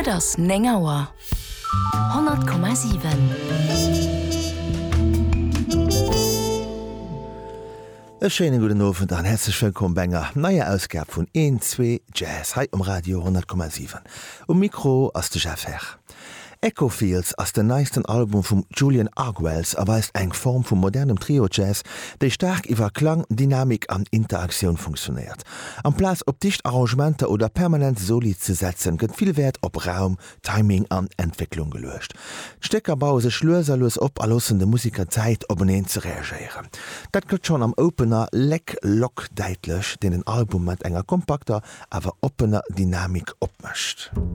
Et ass 9 Auer. 100,7. E schéine gudden Owend an häerzlech wëllkomm bei enger neier Ausgab vun Een, Zwee, Jazz hei um Radio 100,7. Um Mikro ass de Jeff Herr. Echo Fields ass den neisten Album vum Julian Arguelles a weist eng Form vu modernem Trio-Jazz, déi staark iwwer Klang, Dynamik an Interaktioun funktionéiert. Amplaz op dicht Arrangementer oder permanent Soli ze setzen, gëtt vill Wäert op Raum, Timing an Entwécklung geluecht. D'Stécker baue sech lues a lues op a loossen de Musiker Zäit, openeen ze reagéieren. Dat gëtt schonn am Opener Leck Lock däitlech, deen den Album mat enger kompakter, awer oppener Dynamik opmécht.